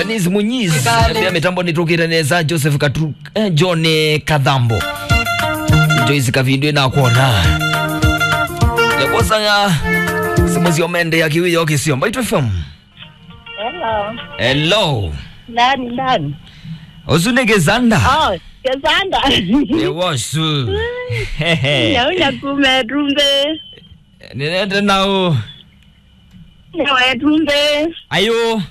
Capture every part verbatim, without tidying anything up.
Dennis Munyiz, pia mitambo nitũkĩte nesa, Joseph Katu, eh, John Kathambo. Joyce Kavindu nakwona. Yakwosanga simu sio mende ya kiwi yo kisio. Mbaitu F M. Hello. Hello. Nani, nani? Ũsu nĩ Kĩsanda? Oh, Kĩsanda. Nĩ wosu. Nyaunya kuma Ĩtumbĩ. Nĩnende naũ? Nĩ wa Ĩtumbĩ. Ayũ.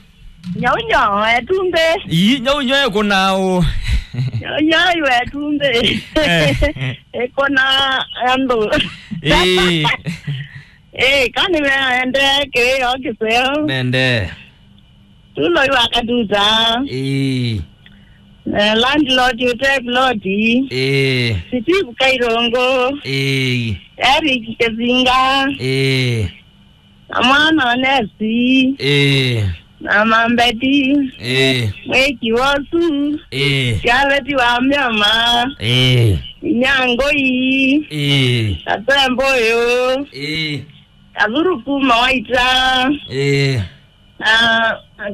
Nyaunya wa Ĩtumbĩ. Ii, nyaunya ĩkũnaũ? Nyaunya wa Ĩtumbĩ. Eh. Ĩkũna andũ. Ĩĩ. Ĩĩ, kani meendee kĩĩ o kĩseo. Mende. Tulo iwa Katuta. Ĩĩ. Eh, landlord Ute Ploti. Ĩĩ. Steve Kairongo. Ĩĩ. Eric Kezinga. Ĩĩ. Na mwana Onesi. Ĩĩ. Na Mambeti. Ĩĩ. Mwĩki wosu. Ĩĩ. Sialeti wa Myama. Ĩĩ. Inyangoi. Ĩĩ. Katemboyo. Ĩĩ. Kathuru kuma Waita. Ĩĩ. Na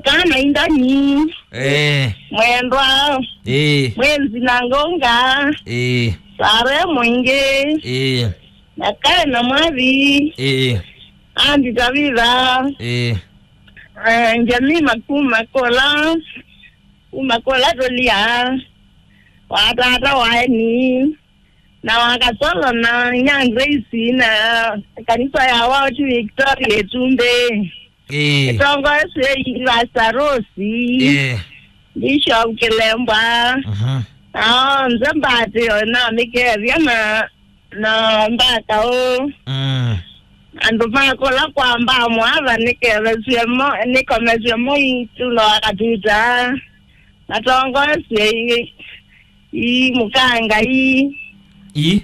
kana Indani. Ĩĩ. Mwendwa. Ĩĩ. Mwenzi na Ngonga. Ĩĩ. Sare Mwingi. Ĩĩ. Na kae na Mwathi. Ĩĩ. Andi Tavitha. Ĩĩ. Eh, Njamima kuma Kola. Kuma Kola Tolia. Wa tata wa Eni. Na wa Kasolo na Nyanza isi na kanisa ya Wao ti Victoria Ĩtumbĩ. Ĩĩ. Ĩtongoesye Pastor Rose. Ĩĩ. Bishop Kilembwa. Mhm. Na onthe mbatĩo na mĩkethya na, na mbaka ũ. Mm. Andũ makũla kwa mbaa mwatha nĩkethesye mo, nĩkomesye mo itulo akatuta. Matongoesye ii, ii mũkanga ii. Ii.